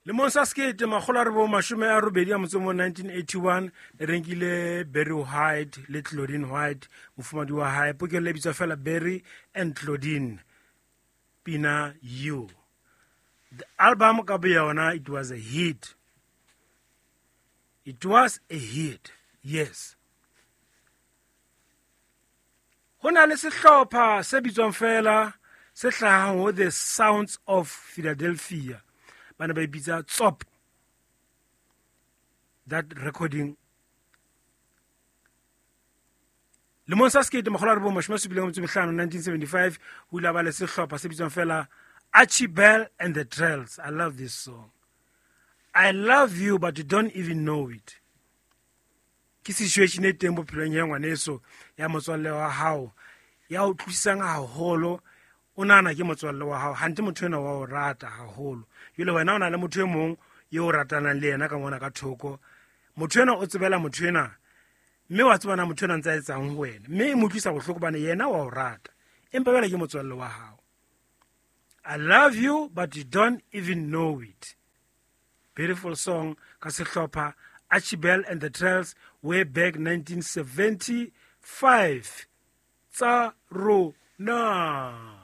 Lemong sa 1981, 1981, le renkile Barry White le Claudine White, mofumadi wa hae. Pokello e bitswa fela Barry and Claudine, pina You. The album ka boyona, it was a hit. It was a hit, yes. Ho na le sehlopha se bitswang fela se hlahang ho The Sounds of Philadelphia, ba ne ba ipitsa Tsop. That recording lemong sa 1975, 1975, ho ile ba le sehlopha se bitswang fela Archie Bell and the Drells. I love this song. I love you but you don't even know it. Ke situation e teng bophelong ya ngwaneso, ya motswalle wa hao ya o utlwisisang haholo, o nahana ke motswalle wa hao hante motho ena wa o rata haholo. Jwale wena o na le motho e mong eo o ratanang le yena ka mona ka thoko, motho ena o tsebela motho ena, mme wa tsebana motho ena ntse a etsang ho wena, mme e mo utlwisa bohloko bane yena wa o rata, empa jwale ke motswalle wa hao. I love you but you don't even know it. Beautiful song ka sehlopha Archie Bell and the Drells way back 1975. Tsa rona.